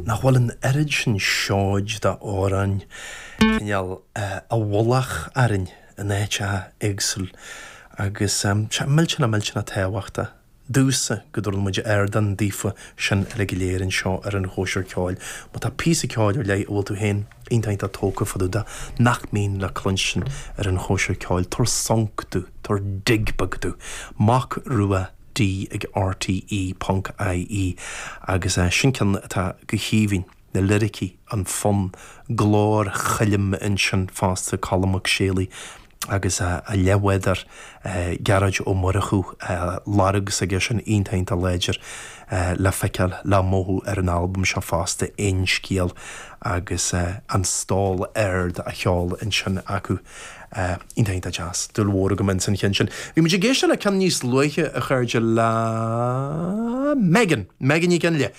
Nach bhfuil an oiread sin seoid d'amhráin cineál i bhfolach orainn in áiteacha éagsúil agus tá sé millteanach millteanach tábhachtach domhsa go dtabharann muid ardán daofa sin uilig go léir anseo ar an Chóisir Ceoil. Má tá píosa ceoil ar leith a bhfuil tú féin iontach iontach tógtha fá dtaobh de nach mbíonn le cluinstin ar an Chóisir Ceoil, tabhair sonc domh, tabhair dig beag domh. Mac Rua D ag RTÉ ponc IE agus sin ceann atá go haoibhinn, na liricí, an fonn, glór Choilm ansin fosta, Colm Mac Séalaigh agus a leathbhádóir Gearóid Ó Murchú, lorg s'aige sin iontach iontach láidir le feiceáil, le mothú ar an albam seo fosta, Aon Scéal agus an stól ard á cheol ansin acu. Iontach iontach deas. Dúil mhór agam ins an cheann sin. Bhí muid ag éisteacht le ceann níos luaithe, a chairde, le Megan, Megan Ní Fhionnghaile.